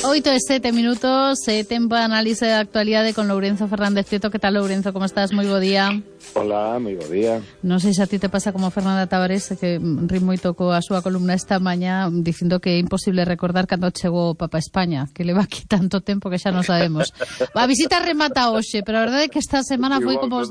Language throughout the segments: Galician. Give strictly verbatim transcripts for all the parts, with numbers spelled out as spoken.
Oito e sete minutos, eh, tempo de análise de actualidade con Lourenzo Fernández Prieto. Que tal, Lourenzo? Como estás? Moi bo día. Hola, moi bo día. Non sei se a ti te pasa como Fernanda Tavares, que ri moito coa súa columna esta mañá dicindo que é imposible recordar cando chegou o Papa a España, que leva aquí tanto tempo que xa non sabemos. A visita remata hoxe, pero a verdade é que esta semana foi como...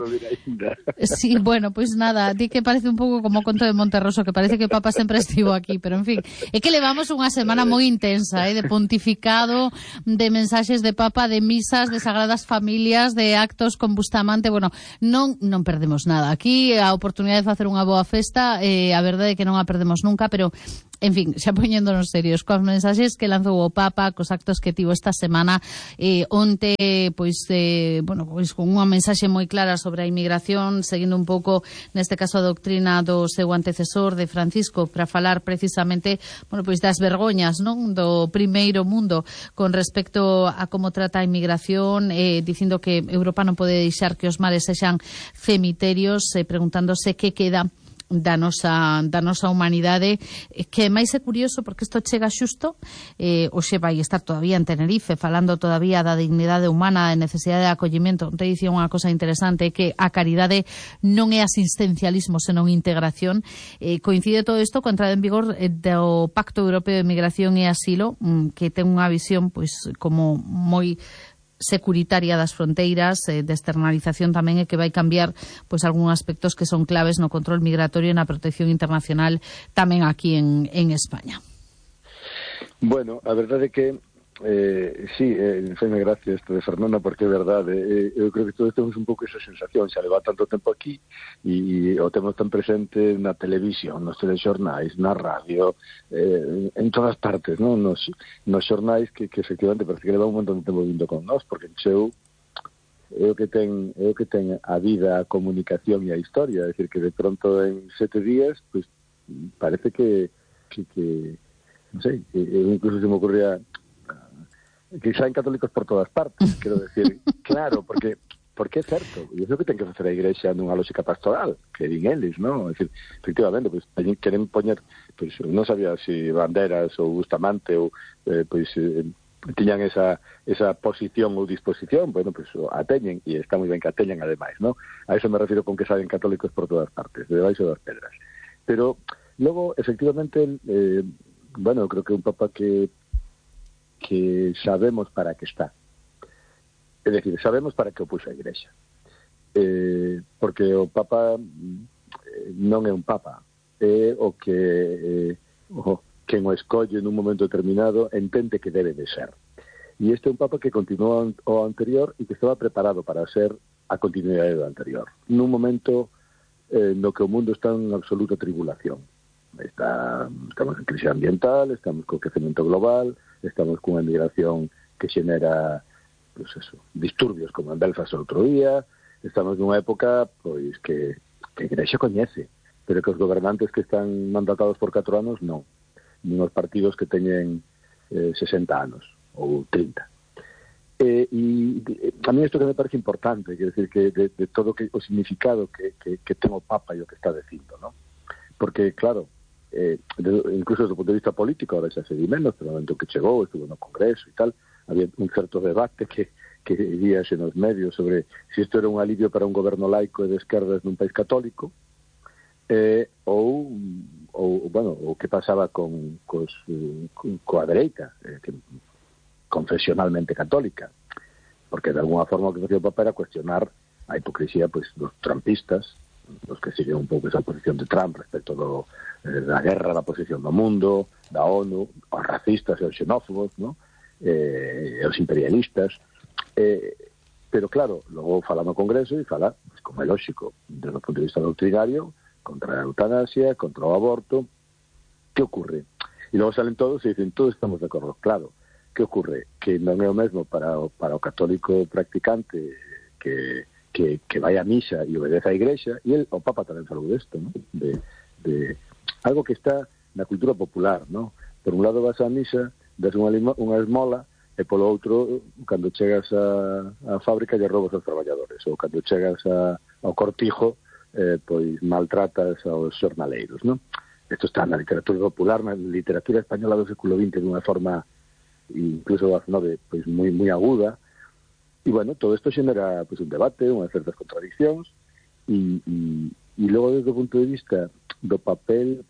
Sí, bueno, pois pues nada, di que parece un pouco como o conto de Monterroso, que parece que o Papa sempre estivo aquí, pero en fin, é que levamos unha semana moi intensa, eh, de pontificado, de mensaxes de Papa, de misas, de sagradas familias, de actos con Bustamante. Bueno, non non perdemos nada. Aquí a oportunidade de facer unha boa festa, eh, a verdade é que non a perdemos nunca, pero en fin, xa poñéndonos serios, cos mensaxes que lanzou o Papa, cos actos que tivo esta semana, eh, onte, pois, eh, bueno, pois con unha mensaxe moi clara sobre a inmigración, seguindo un pouco, neste caso, a doutrina do seu antecesor, de Francisco, para falar precisamente, bueno, pois das vergoñas, non, do primeiro mundo, con respecto a como trata a inmigración, eh, dicindo que Europa non pode deixar que os mares sexan cemiterios, eh, preguntándose que queda da nosa, da nosa humanidade, que máis é curioso porque isto chega xusto, eh, hoxe vai estar todavía en Tenerife falando todavía da dignidade humana, da necesidade de acollimento. Te dicía unha cosa interesante, que a caridade non é asistencialismo senón integración. Eh, coincide todo isto con a entrada en vigor eh, do Pacto Europeo de Migración e Asilo, mm, que ten unha visión pois como moi securitaria das fronteiras, eh, de externalización tamén, e que vai cambiar pois algúns aspectos que son claves no control migratorio e na protección internacional tamén aquí en, en España. Bueno, a verdade é que eh, sí, eh, feme gracia isto de Fernanda, porque é verdade, eh, eu creo que todos temos un pouco esa sensación, xa leva tanto tempo aquí e, e o temos tan presente na televisión, nos telexornais, na radio, eh, en todas partes, non? Nos, nos xornais que, que efectivamente parece que leva un montón de tempo vindo con nós, porque encheu é o que ten, é o que ten a vida, a comunicación e a historia, é dicir, que de pronto en sete días, pues parece que, que, que non sei, eu incluso se me ocurría que saen católicos por todas partes, quero decir, claro, porque porque é certo, e iso que ten que facer a Igrexa nunha lógica pastoral, que din eles, non? É dicir, efectivamente, pois, pues, queren poñer, pois, pues, non sabía se si banderas ou Bustamante ou, eh, pois, eh, tiñan esa, esa posición ou disposición, bueno, pois, pues, a teñen, e está moi ben que a teñen, ademais, non? A eso me refiro con que saen católicos por todas partes, debaixo das pedras. Pero, logo, efectivamente, eh, bueno, creo que un papa que que sabemos para que está. É dicir, sabemos para que o puxo a Igrexa. Eh, porque o Papa eh, non é un Papa, é o que eh, o, quen o escolle nun momento determinado entende que debe de ser. E este é un Papa que continúa o anterior e que estaba preparado para ser a continuidade do anterior. Nun momento eh, no que o mundo está en absoluta tribulación. Está, estamos en crisis ambiental, estamos co crecemento global, estamos cunha migración que xenera, pues eso, disturbios como en Belfast outro día, estamos nunha época pois que, que a Igrexa coñece, pero que os gobernantes que están mandatados por catro anos non, nin os partidos que teñen eh, sesenta anos ou trinta. Eh, e a mí isto que me parece importante, quer decir, que de, de todo que, o significado que, que, que ten o Papa e o que está dicindo, ¿no? Porque, claro, Eh, de, incluso desde o punto de vista político, ahora xa se di menos, pero no momento que chegou, estuvo no Congreso e tal, había un certo debate que, que víase nos medios sobre se si isto era un alivio para un goberno laico e de esquerdas nun país católico, eh, ou, ou, bueno, o que pasaba con, cos, con, coa dereita, eh, que, confesionalmente católica, porque de alguna forma o que facía o Papa era cuestionar a hipocresía pues, dos trumpistas, os que siguen un pouco esa posición de Trump respecto do, eh, da guerra, da posición do mundo, da ONU, os racistas e os xenófobos, ¿no? eh, os imperialistas, eh, pero claro, logo fala no Congreso e fala, pues, como é lógico, desde o punto de vista doctrinario, contra a eutanasia, contra o aborto. Que ocurre? E logo salen todos e dicen, todos estamos de acordo, claro. Que ocurre? Que non é o mesmo para o, para o católico practicante que Que, que vai a misa e obedece á Igrexa, e el, o Papa tamén falou desto, ¿no? de, de algo que está na cultura popular, ¿no? Por un lado vas á misa, das unha, unha esmola, e polo outro, cando chegas a, a fábrica, lle robas aos traballadores, ou cando chegas a, ao cortijo, eh, pois maltratas aos xornaleiros, ¿no? Isto está na literatura popular, na literatura española do século vinte, dunha forma incluso a nove pois moi moi aguda. E, bueno, todo isto xenera pois, un debate, unhas certas contradiccións, e, e, e logo, desde o punto de vista do papel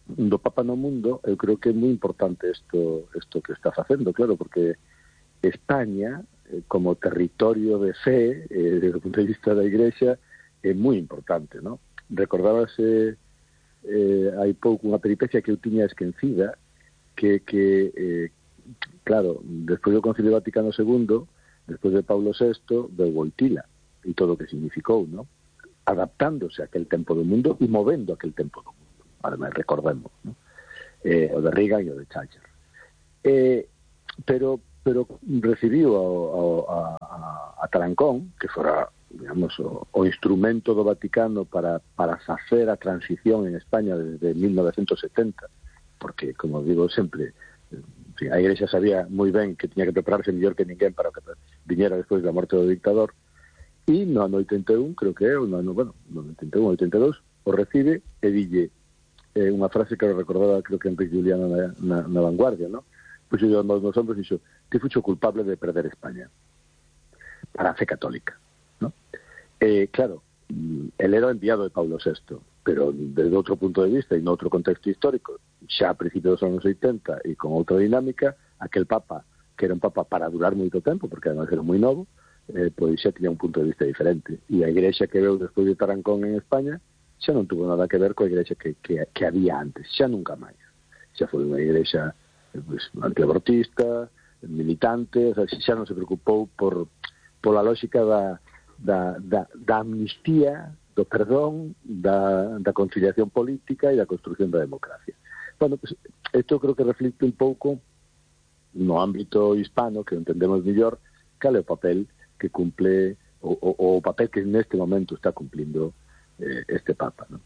do Papa no mundo, eu creo que é moi importante isto, isto que está facendo, claro, porque España, eh, como territorio de fe, eh, desde o punto de vista da Igrexa, é moi importante, non? Recordábase eh, hai pouco unha peripecia que eu tiña esquecida, que, que eh, claro, despois do Concilio Vaticano segundo, despois de Paulo sexto, veu Wojtyla, e todo o que significou, non? Adaptándose a aquel tempo do mundo e movendo aquel tempo do mundo. Ademais, recordemos, non? Eh, o de Reagan e o de Thatcher. Eh, pero, pero recibiu ao, ao, a, a Tarancón, que fora, digamos, o, o instrumento do Vaticano para, para facer a transición en España desde mil novecientos setenta, porque, como digo sempre, en fin, a Igrexa sabía moi ben que tiña que prepararse mellor que ninguén para que viñera despois da morte do dictador, e no ano oitenta e un, creo que é, no ano, bueno, no oitenta e un, oitenta e dous, o recibe e dille eh, unha frase que recordaba, creo que Enrique Juliano na, na, na Vanguardia, ¿no? Pois eu nos nos hombros dixo, que fucho culpable de perder España para a fe católica, ¿no? Eh, claro, el era enviado de Paulo sexto, pero desde outro punto de vista e no outro contexto histórico, xa a principios dos anos oitenta e con outra dinámica, aquel Papa, que era un Papa para durar moito tempo, porque además era moi novo, eh, pois xa tiña un punto de vista diferente. E a Igrexa que veu despois de Tarancón en España xa non tuvo nada que ver coa Igrexa que, que, que había antes, xa nunca máis. Xa foi unha Igrexa pues, antiabortista, militante, o sea, xa non se preocupou por pola lógica da, da, da, da amnistía, do perdón, da, da conciliación política e da construcción da democracia. Bueno, pues, isto creo que reflicte un pouco no ámbito hispano, que entendemos mellor, cal é o papel que cumple, o, o, o papel que neste momento está cumplindo eh, este Papa, ¿no?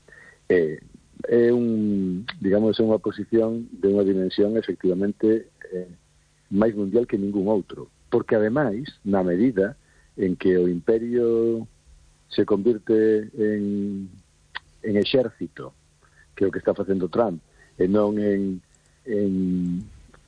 Eh, é un, digamos, é unha posición de unha dimensión efectivamente eh, máis mundial que ningún outro, porque ademais, na medida en que o imperio se convirte en, en exército, que é o que está facendo Trump, e non en, en,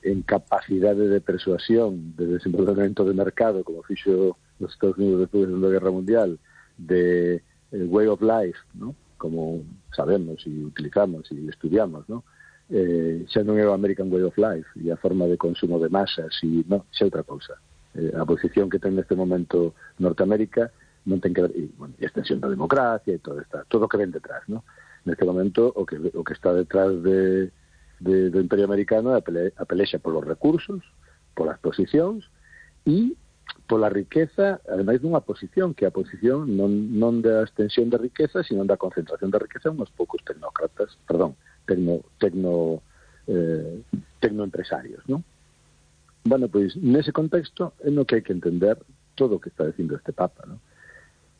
en capacidade de persuasión, de desenvolvemento de mercado, como fixo os Estados Unidos despois da Segunda Guerra Mundial, de eh, way of life, ¿no? Como sabemos e utilizamos e estudiamos, ¿no? Eh, xa non é o American way of life e a forma de consumo de masas, e non, xa outra cousa. Eh, a posición que ten neste momento Norteamérica non ten que ver, e, bueno, e a extensión da democracia e todo, esta, todo o que ven detrás, ¿no? Neste momento o que, o que está detrás de, de, do Imperio Americano é a, pele, a pelexa polos recursos, polas posicións e pola riqueza, ademais dunha posición, que a posición non, non da extensión da riqueza, sino da concentración da riqueza en uns poucos tecnócratas, perdón, tecno, tecno, eh, tecnoempresarios, ¿no? Bueno, pois, nese contexto é no que hai que entender todo o que está dicindo este Papa, ¿no?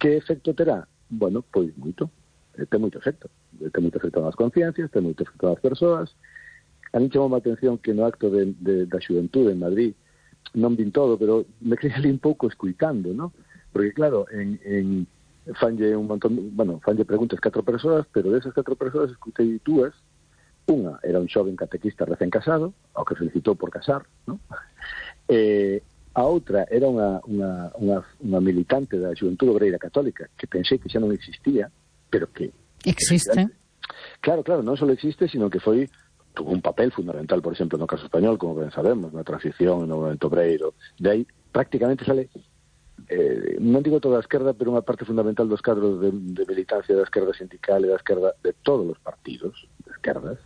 Que efecto terá? Bueno, pois moito. Ten moito efecto. Ten moito efecto nas conciencias, ten moito efecto nas persoas. A mí chamou a atención que no acto de, de, da xuventude en Madrid, non vin todo, pero me quedé ali un pouco escuitando, ¿no? Porque, claro, en, en fanlle un montón, bueno, fanlle preguntas catro persoas, pero desas catro persoas escutei dúas. Unha era un xoven catequista recén casado, ao que felicitou por casar, ¿no? Eh, a outra era unha, unha, unha, unha militante da Xuventude Obreira Católica, que pensei que xa non existía, pero que... Existe. Claro, claro, non só existe, sino que foi tuvo un papel fundamental, por exemplo, no caso español, como ben sabemos, na transición, no movimento obreiro. De aí, prácticamente sale, eh, non digo toda a esquerda, pero unha parte fundamental dos cadros de, de militancia da esquerda sindical e da esquerda de todos os partidos de esquerdas.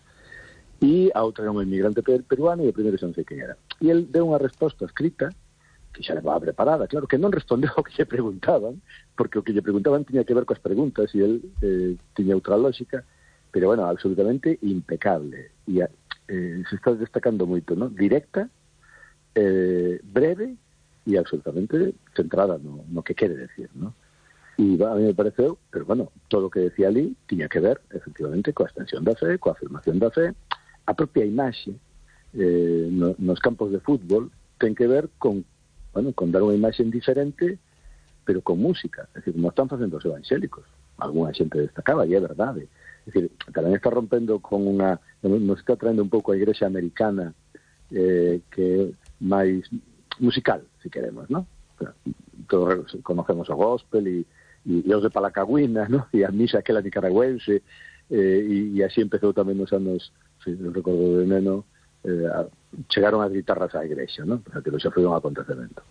E a outra era un inmigrante peruano e o primeiro xa non sei quen era. E el deu unha resposta escrita que xa levaba preparada, claro, que non respondeu ao que lle preguntaban, porque o que lle preguntaban tiña que ver coas preguntas e el eh, tiña outra lógica, pero, bueno, absolutamente impecable. E eh, se está destacando moito, ¿no? Directa, eh, breve e absolutamente centrada no, no que quere decir, ¿no? E a mí me pareceu, pero, bueno, todo o que decía ali tiña que ver, efectivamente, coa extensión da fe, coa afirmación da fe. A propia imaxe eh, no, nos campos de fútbol ten que ver con, bueno, con dar unha imaxe diferente, pero con música. É dicir, non están facendo os evangélicos. Alguna xente destacaba, e é verdade. É dicir, tamén está rompendo con unha... Nos está traendo un pouco a igrexa americana, eh, que máis musical, si queremos, ¿no? Todos conocemos o gospel e, e, e os de Palacagüina, ¿no? E a misa aquela nicaragüense, eh, e, e así empezou tamén nos anos, si non recordo de neno, eh, a, chegaron as guitarras á igrexa, ¿no? Porque aquilo xa foi un acontecemento.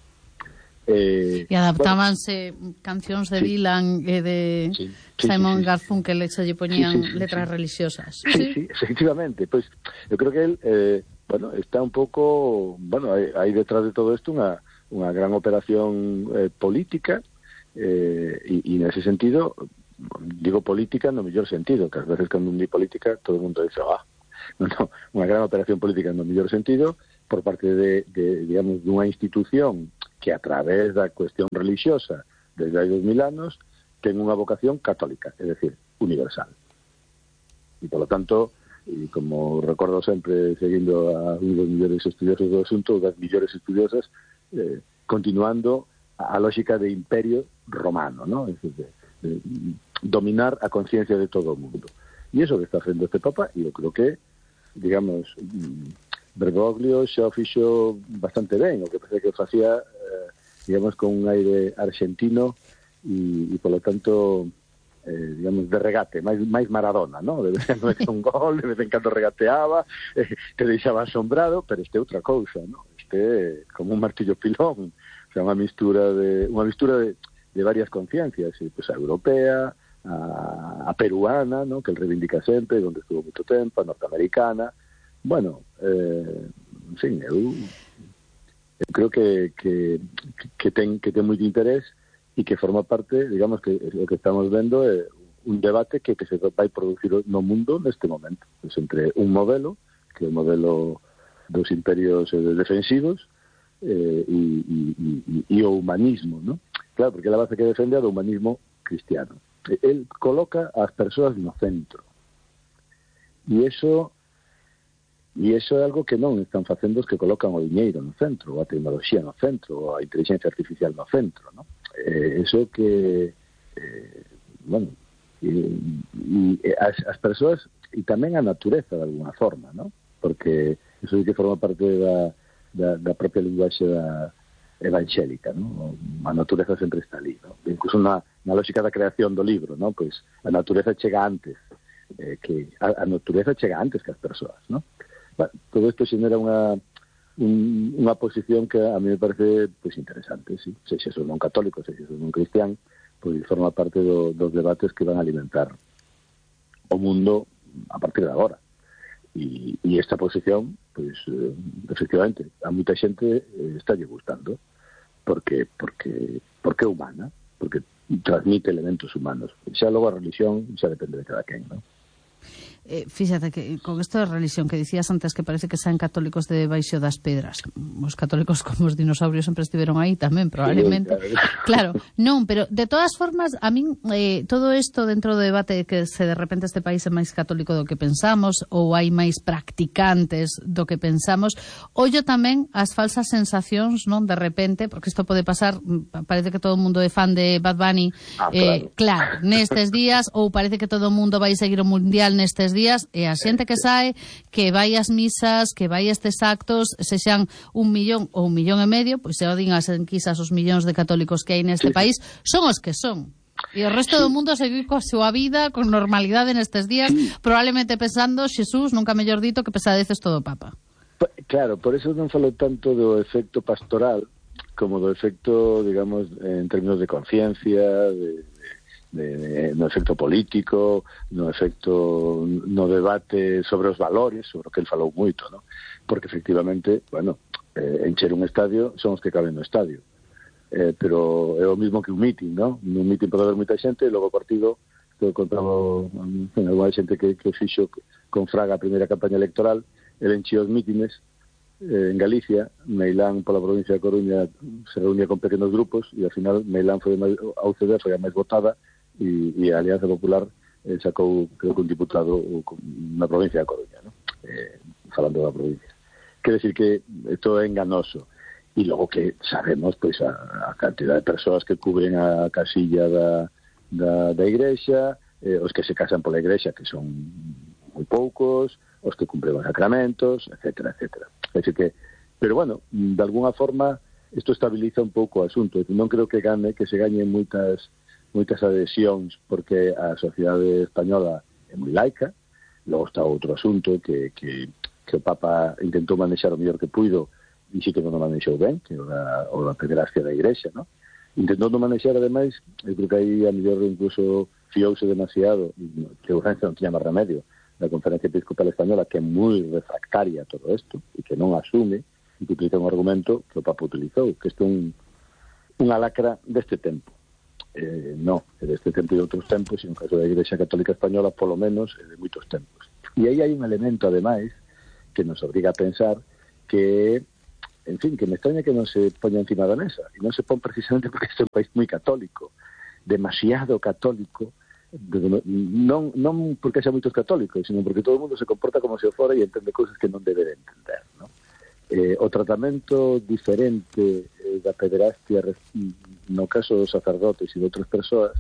Eh, e adaptábanse bueno, cancións de sí. Dylan e de sí, sí, Simon sí, sí, Garfunkel que se lle poñían sí, sí, sí, sí. letras religiosas. Sí, sí, sí, efectivamente. Pois pues, eu creo que él eh, bueno, está un pouco, bueno, hai, hai detrás de todo isto unha unha gran operación eh, política eh, e, e nese sentido digo política no mellor sentido, que ás veces cando un di política todo o mundo dice, ah, no, no, unha gran operación política no mellor sentido por parte de, de digamos, dunha institución que a través da cuestión religiosa desde hai dos mil anos ten unha vocación católica, é dicir, universal. E, polo tanto, e como recordo sempre, seguindo a un dos millores estudiosos do asunto, das millores estudiosas, eh, continuando a, a lógica de imperio romano, ¿no? Es decir, de, de dominar a conciencia de todo o mundo. E iso que está facendo este Papa, e eu creo que, digamos, Bergoglio xa o fixo bastante ben, o que parece que o facía, eh, digamos, con un aire argentino e, e polo tanto, eh, digamos, de regate, máis, máis Maradona, ¿no? De vez en cando un gol, de vez en cando regateaba, eh, te deixaba asombrado, pero este é outra cousa, ¿no? Este é como un martillo pilón, o sea, unha mistura de unha mistura de, de varias conciencias, e, pues, a europea, a, a peruana, ¿no? Que el reivindica sempre, onde estuvo moito tempo, a norteamericana. Bueno, eh, en fin, eu, eu creo que, que, que, ten, que ten moito interés e que forma parte, digamos, que o que estamos vendo é un debate que, que se vai producir no mundo neste momento, pues, entre un modelo, que é o modelo dos imperios eh, defensivos, eh, e, e, e, e o humanismo, ¿no? Claro, porque a base que defende é do humanismo cristiano. El coloca as persoas no centro. E iso E iso é algo que non están facendo os que colocan o diñeiro no centro, ou a tecnoloxía no centro, ou a inteligencia artificial no centro, ¿no? Eh, eso que, eh, bueno, e, e as, as persoas, e tamén a natureza de alguna forma, ¿no? Porque eso é que forma parte da, da, da propia linguaxe da evangélica, ¿no? A natureza sempre está ali, ¿no? Incluso na, na lógica da creación do libro, ¿no? Pois a natureza chega antes, eh, que a, a natureza chega antes que as persoas, ¿no? Bueno, todo isto xenera unha un, unha posición que a mí me parece pues, interesante, sí. Se xe son non católico, se xe son non cristián, pois pues, forma parte do, dos debates que van a alimentar o mundo a partir de agora. E, e esta posición, pois, pues, eh, efectivamente, a moita xente eh, está lle gustando, porque, porque, porque é humana, porque transmite elementos humanos. Xa logo a religión xa depende de cada quen, non? Eh, fíxate que con isto de religión que dicías antes que parece que sean católicos de baixo das pedras, os católicos como os dinosaurios sempre estiveron aí tamén, probablemente. Sí, claro. claro, non, pero de todas formas, a min eh, todo isto dentro do debate que se de repente este país é máis católico do que pensamos ou hai máis practicantes do que pensamos, ollo tamén as falsas sensacións, non, de repente, porque isto pode pasar, parece que todo o mundo é fan de Bad Bunny, ah, eh, claro. claro, nestes días, ou parece que todo o mundo vai seguir o mundial nestes días, e a xente que sae, que vai ás misas, que vai a estes actos, sexan un millón ou un millón e medio, pois se o din as enquisas os millóns de católicos que hai neste sí, país, son os que son. E o resto sí. do mundo seguir coa súa vida, con normalidade nestes días, sí. probablemente pensando, Xesús, nunca mellor dito, que pesadeces todo o Papa. Claro, por eso non falo tanto do efecto pastoral como do efecto, digamos, en términos de conciencia, de De, de, no efecto político, no efecto no debate sobre os valores, sobre o que el falou moito, ¿no? Porque efectivamente, bueno, eh, encher un estadio son os que caben no estadio, eh, pero é o mismo que un meeting, ¿no? Un meeting pode haber moita xente, e logo o partido, que contaba en alguna xente que, que fixo con Fraga a primeira campaña electoral, el enchía os mítines eh, en Galicia, Meilán pola provincia de Coruña se reunía con pequenos grupos, e ao final Meilán foi a U C D, foi a máis votada, e, e a Alianza Popular eh, sacou, creo que un diputado na provincia de Coruña, ¿no? Eh, falando da provincia. Quer decir que isto é enganoso, e logo que sabemos pois a, a cantidad de persoas que cubren a casilla da, da, da igrexa, eh, os que se casan pola igrexa, que son moi poucos, os que cumpren os sacramentos, etcétera, etcétera. É dicir que Pero, bueno, de alguna forma, isto estabiliza un pouco o asunto. Non creo que gane, que se gañen moitas, moitas adhesións, porque a sociedade española é moi laica. Logo está outro asunto que, que, que o Papa intentou manexar o mellor que puido, e sí que non o manexou ben, que é o da, o da pederastia da Igrexa, non? Intentando manexar, ademais, eu creo que aí a mellor incluso fiouse demasiado, que o Renfe non tiña máis remedio, da Conferencia Episcopal Española, que é moi refractaria a todo isto, e que non asume, e que utiliza un argumento que o Papa utilizou, que isto é un, unha lacra deste tempo. Eh, no, é deste tempo e de outros tempos, e no caso da Igrexa Católica Española, polo menos, é de moitos tempos. E aí hai un elemento, ademais, que nos obriga a pensar que, en fin, que me extraña que non se poña encima da mesa, e non se pon precisamente porque este é un país moi católico, demasiado católico, non, non porque xa moitos católicos, sino porque todo o mundo se comporta como se o fora e entende cousas que non debe de entender, non? Eh, o tratamento diferente eh, da pederastia no caso dos sacerdotes e de outras persoas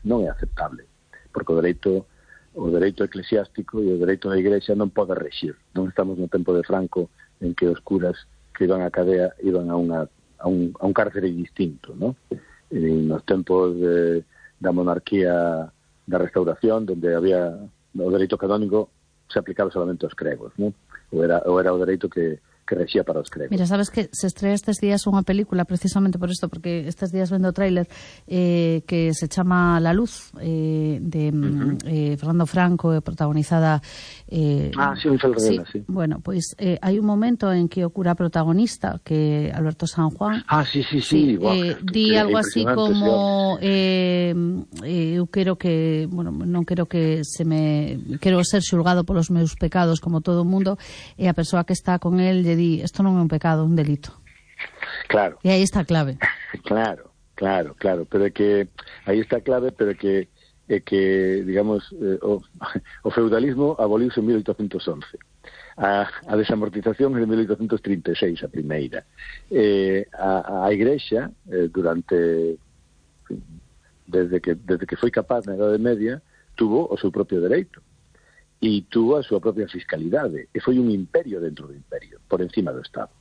non é aceptable, porque o dereito o dereito eclesiástico e o dereito da Igrexa non pode rexir. Non estamos no tempo de Franco en que os curas que iban á cadea iban a, unha, a, un, a un cárcere distinto, non? E nos tempos de, da monarquía da Restauración, donde había o dereito canónico se aplicaba solamente aos cregos, non? Ou era, ou era o dereito que que rexía para os cregos. Mira, sabes que se estrella estes días unha película precisamente por isto, porque estes días vendo o tráiler eh, que se chama La Luz, eh, de uh-huh. eh, Fernando Franco, eh, protagonizada eh, ah, sí, Rivera, sí, sí. Bueno, pois pues, eh, hai un momento en que o cura protagonista, que Alberto San Juan, ah, sí, sí, sí, sí wow, eh, di algo así como eh, eh, eu quero que, bueno, non quero que se me quero ser xulgado polos meus pecados como todo o mundo, e a persoa que está con el lle di, isto non é un pecado, un delito. Claro. E aí está a clave. Claro, claro, claro, pero é que aí está a clave, pero é que é que, digamos, eh, o, o feudalismo aboliuse en mil oitocentos once. A, a desamortización é de mil oitocentos trinta e seis, a primeira. Eh, a, a Igrexa, eh, durante desde que desde que foi capaz na Idade Media, tuvo o seu propio dereito. E tuvo a súa propia fiscalidade, e foi un imperio dentro do imperio, por encima do Estado.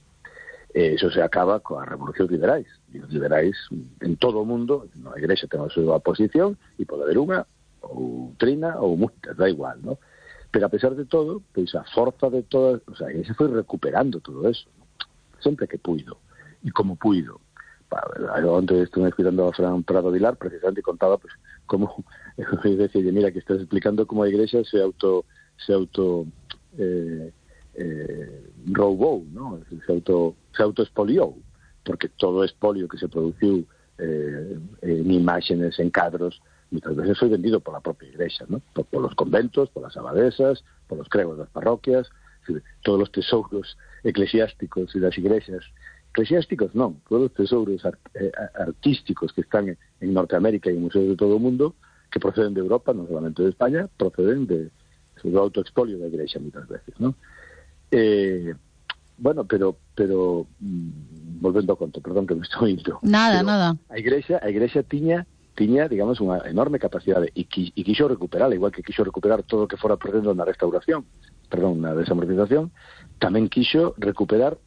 E iso se acaba coas revolucións liberais. E os liberais, en todo o mundo, a Igrexa ten a súa posición, e pode haber unha, ou trina, ou moitas, da igual, ¿no? Pero a pesar de todo, pois a forza de todas, o sea, a Igrexa foi recuperando todo eso, ¿no? Sempre que puido, e como puido. Onde estuve cuidando a Fran Prado Vilar, precisamente contaba, pues, como eu decía, mira, que estás explicando como a Igrexa se auto se auto eh, eh, roubou, ¿no? Se auto se autoespoliou, porque todo o espolio que se produciu eh, en imágenes, en cadros, muchas veces foi vendido pola propia Igrexa, ¿no? Por, por los conventos, por las abadesas, por los cregos das parroquias, todos os tesouros eclesiásticos e das igrexas eclesiásticos non, todos os tesouros art, eh, artísticos que están en, en Norteamérica e en museos de todo o mundo, que proceden de Europa, non solamente de España, proceden de do autoexpolio da Igrexa muitas veces, non? Eh, bueno, pero pero mm, volvendo ao conto, perdón que me estou indo. Nada, pero nada. A Igrexa, a Igrexa tiña tiña, digamos, unha enorme capacidade e, qui, e quixo recuperar, igual que quixo recuperar todo o que fora perdendo na restauración, perdón, na desamortización, tamén quixo recuperar,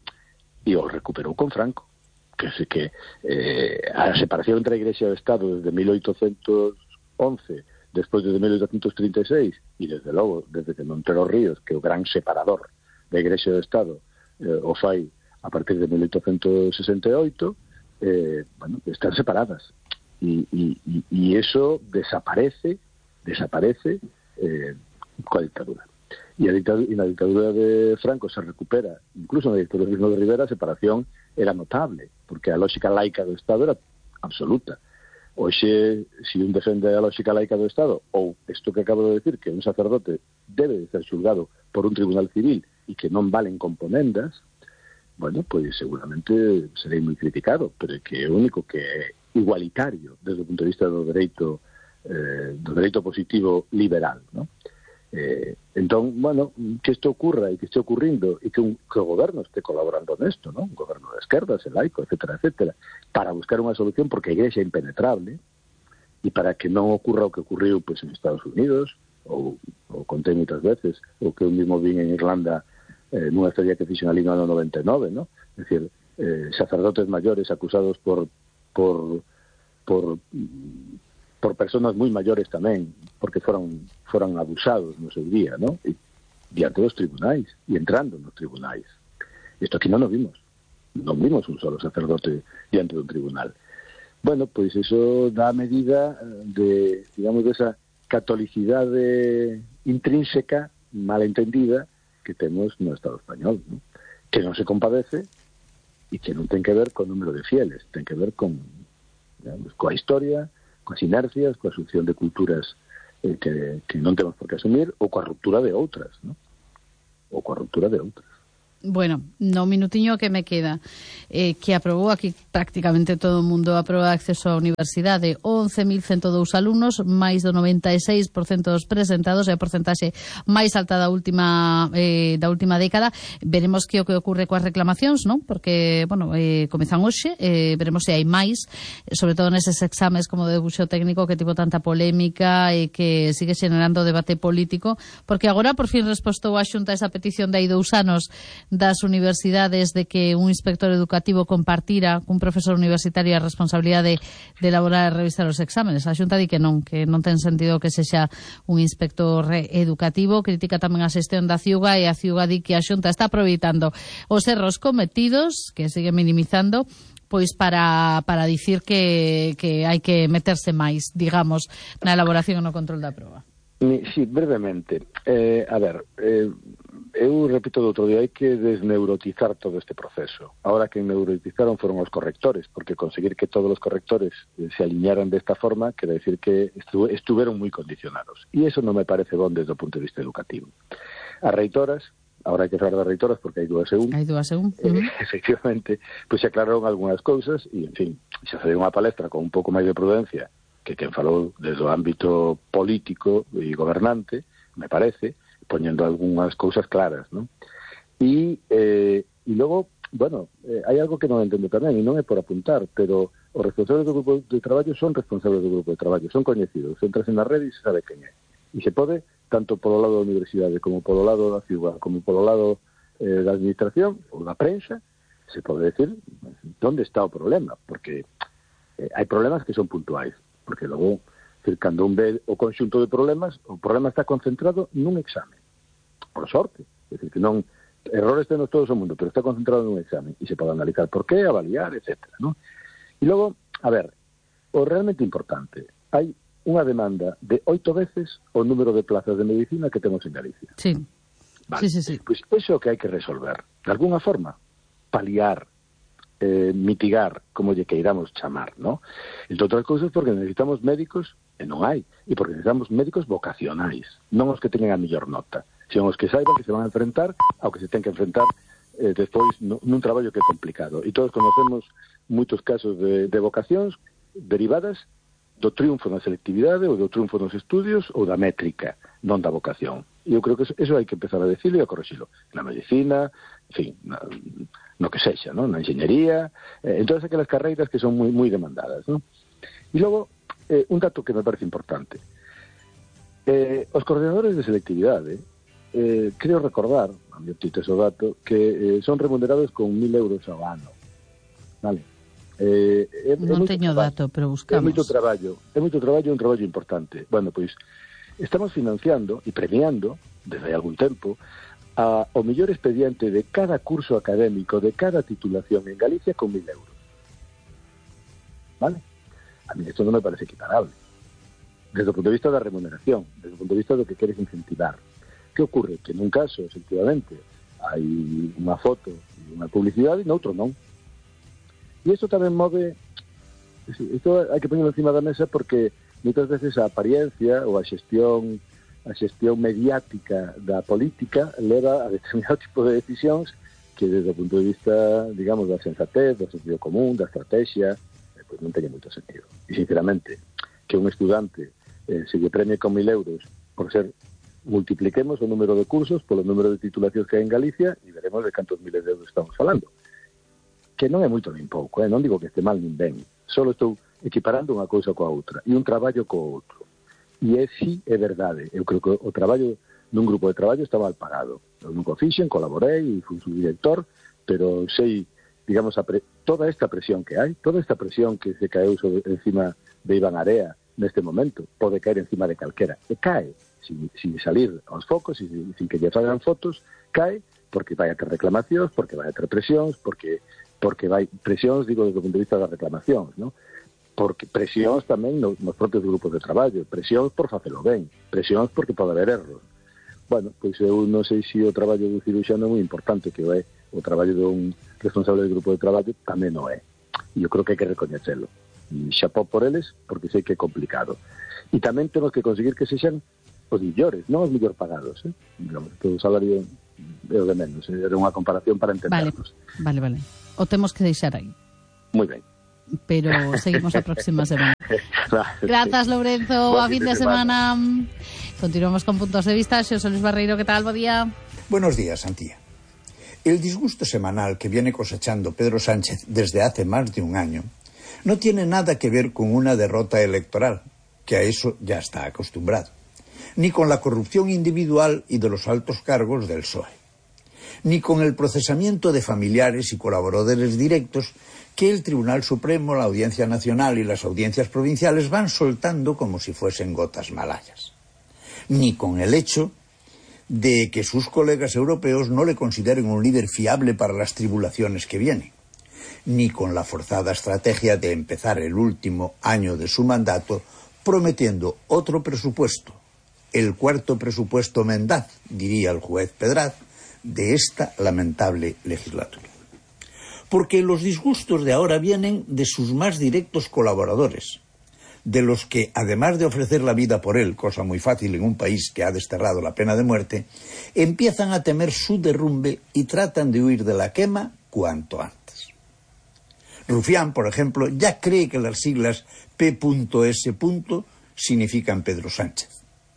e o recuperou con Franco, que sé que eh, a separación entre a Igrexa e o Estado desde mil oitocentos once, despois de mil oitocentos trinta e seis, e desde logo, desde que Montero Ríos, que é o gran separador da Igrexa e do Estado, eh, o fai a partir de mil oitocentos sesenta e oito, eh, bueno, están separadas. E, e, e eso desaparece, desaparece eh, coa dictadura. E a dictadura, e na dictadura de Franco se recupera, incluso na dictadura de Rivera, a separación era notable, porque a lógica laica do Estado era absoluta. Oxe, se un defende a lógica laica do Estado, ou isto que acabo de decir, que un sacerdote debe de ser xulgado por un tribunal civil e que non valen componendas, bueno, pois seguramente serei moi criticado, pero é que é o único que é igualitario desde o punto de vista do dereito eh, do dereito positivo liberal, ¿no? Eh, entón, bueno, que isto ocurra e que este ocurrindo e que, un, que o goberno este colaborando nesto, ¿no? Un goberno de esquerdas, el laico, etcétera, etcétera, para buscar unha solución, porque a Igrexa é impenetrable e para que non ocurra o que ocurriu pues, en Estados Unidos ou, ou contei moitas veces, ou que eu mismo vin en Irlanda eh, nunha historia que fixen ali no ano noventa e nove, ¿no? É dicir, eh, sacerdotes maiores acusados por por por por personas moi maiores tamén, porque foron foron abusados no seu día, ¿no? E diante dos tribunais, e entrando nos tribunais. Isto aquí non o vimos. Non vimos un solo sacerdote diante dun tribunal. Bueno, pois iso dá a medida de, digamos, desa catolicidade intrínseca, mal entendida, que temos no Estado español, ¿no? Que non se compadece e que non ten que ver con o número de fieles, ten que ver con, digamos, coa historia, coas inercias, coa asunción de culturas eh, que, que non temos por que asumir, ou coa ruptura de outras, ¿no? Ou coa ruptura de outras. Bueno, no minutiño que me queda, eh, que aprobou aquí prácticamente todo o mundo a proba de acceso á universidade, once mil ciento dous alumnos, máis do noventa e seis por cento dos presentados, é a porcentaxe máis alta da última eh, da última década. Veremos que o que ocurre coas reclamacións, non? Porque, bueno, eh, comezan hoxe, eh, veremos se hai máis, sobre todo neses exames como de debuxo técnico que tivo tanta polémica e que sigue xenerando debate político, porque agora por fin respostou a Xunta esa petición de hai dous anos das universidades de que un inspector educativo compartira cun profesor universitario a responsabilidade de elaborar e revisar os exámenes. A Xunta di que non, que non ten sentido que sexa un inspector educativo. Critica tamén a xestión da Ciuga e a Ciuga di que a Xunta está aproveitando os erros cometidos, que sigue minimizando, pois para, para dicir que, que hai que meterse máis, digamos, na elaboración e no control da proba. Sí, brevemente. Eh, a ver, eh, eu repito do outro día, hai que desneurotizar todo este proceso. Ahora que neurotizaron foron os correctores, porque conseguir que todos os correctores se alinearan desta forma quere decir que estu estuveron moi condicionados. E iso non me parece bon desde o punto de vista educativo. As reitoras, ahora hai que falar das reitoras porque hai dúas e un. Hai dúas e un. Eh, uh-huh. Efectivamente, pois se aclararon algunhas cousas e, en fin, se fai unha palestra con un pouco máis de prudencia que quen falou desde o ámbito político e gobernante, me parece, poñendo algunhas cousas claras, ¿no? E, eh, e logo, bueno, eh, hai algo que non entendo tamén, e non é por apuntar, pero os responsables do grupo de traballo son responsables do grupo de traballo, son coñecidos, entras en a rede e se sabe quen é. E se pode, tanto polo lado da universidade, como polo lado da ciudad, como polo lado eh, da administración, ou da prensa, se pode decir onde está o problema, porque eh, hai problemas que son puntuais, porque logo, cando un ve o conxunto de problemas, o problema está concentrado nun exame. Por sorte. É dicir, que non, errores tenos todos o mundo, pero está concentrado nun exame. E se pode analizar por qué, avaliar, etcétera, ¿no? E logo, a ver, o realmente importante, hai unha demanda de oito veces o número de plazas de medicina que temos en Galicia. Sí. Vale. Sí, sí, sí. Pois pues iso que hai que resolver. De alguna forma, paliar, Eh, mitigar, como lle queiramos chamar, ¿no? Entre outras cousas porque necesitamos médicos, e non hai, e porque necesitamos médicos vocacionais, non os que teñen a mellor nota, sino os que saiban que se van a enfrentar ao que se ten que enfrentar eh, despois no, nun traballo que é complicado. E todos conocemos moitos casos de, de vocacións derivadas do triunfo na selectividade ou do triunfo nos estudios ou da métrica, non da vocación. E eu creo que eso, eso hai que empezar a decirlo e a corregirlo. Na medicina, en fin, na, no que sexa, ¿no? Na enxeñería, eh, en todas aquelas carreiras que son moi moi demandadas, ¿no? E logo, eh, un dato que me parece importante. Eh, os coordinadores de selectividade, eh, creo recordar, a mi optito ese dato, que eh, son remunerados con mil euros ao ano. Vale? Eh, é, non é teño traballo, dato, pero buscamos. É moito traballo, é moito traballo, é un traballo importante. Bueno, pois, estamos financiando e premiando, desde hai algún tempo, a, o mellor expediente de cada curso académico, de cada titulación en Galicia con mil euros. Vale? A mí esto non me parece equiparable. Desde o punto de vista da remuneración, desde o punto de vista do que queres incentivar. Que ocurre? Que nun caso, efectivamente, hai unha foto e unha publicidade e noutro non. E isto tamén move, isto hai que poñerlo encima da mesa porque moitas veces a apariencia ou a xestión a xestión mediática da política leva a determinado tipo de decisións que desde o punto de vista, digamos, da sensatez, do sentido común, da estrategia, eh, pois non teña moito sentido. E sinceramente, que un estudante eh, se lle premie con mil euros por ser, multipliquemos o número de cursos polo número de titulacións que hai en Galicia e veremos de cantos miles de euros estamos falando. Que non é moito nin pouco, eh? Non digo que este mal nin ben, só estou equiparando unha cousa coa outra e un traballo co outro. E é si é verdade, eu creo que o traballo nun grupo de traballo está mal pagado. Eu nunca fixen, colaborei e fui su director, pero sei, digamos, a pre toda esta presión que hai, toda esta presión que se caeu sobre, encima de Iván Area neste momento, pode caer encima de calquera, e cae, sin, sin salir aos focos, sin, sin que lle fagan fotos, cae porque vai a ter reclamacións, porque vai a ter presións, porque porque vai presións, digo, desde o punto de vista das reclamacións, ¿no? Porque presións tamén nos, nos propios grupos de traballo, presións por facelo ben, presións porque pode haber erros. Bueno, pois eu non sei se o traballo do ciruxano é moi importante, que é o traballo dun responsable do grupo de traballo tamén non é. E eu creo que hai que recoñecelo. E xapó por eles, porque sei que é complicado. E tamén temos que conseguir que sexan os millores, non os millor pagados, eh? Digamos, que o salario é o de menos, eh? Era unha comparación para entendernos. Vale, vale, vale. O temos que deixar aí. Moi ben. Pero seguimos a próxima semana. Claro, Grazas, sí. Lourenzo, Boa a fin de semana. semana. Continuamos con Puntos de Vista. Xosé Luis Barreiro, ¿qué tal? Bo día. Buenos días, Antía. El disgusto semanal que viene cosechando Pedro Sánchez desde hace más de un año no tiene nada que ver con una derrota electoral, que a eso ya está acostumbrado, ni con la corrupción individual y de los altos cargos del P S O E, ni con el procesamiento de familiares y colaboradores directos que el Tribunal Supremo, la Audiencia Nacional y las audiencias provinciales van soltando como si fuesen gotas malayas, ni con el hecho de que sus colegas europeos no le consideren un líder fiable para las tribulaciones que vienen, ni con la forzada estrategia de empezar el último año de su mandato prometiendo otro presupuesto, el cuarto presupuesto mendaz, diría el juez Pedraz, de esta lamentable legislatura. Porque los disgustos de ahora vienen de sus más directos colaboradores, de los que, además de ofrecer la vida por él, cosa muy fácil en un país que ha desterrado la pena de muerte, empiezan a temer su derrumbe y tratan de huir de la quema cuanto antes. Rufián, por ejemplo, ya cree que las siglas P S significan Pedro Sánchez.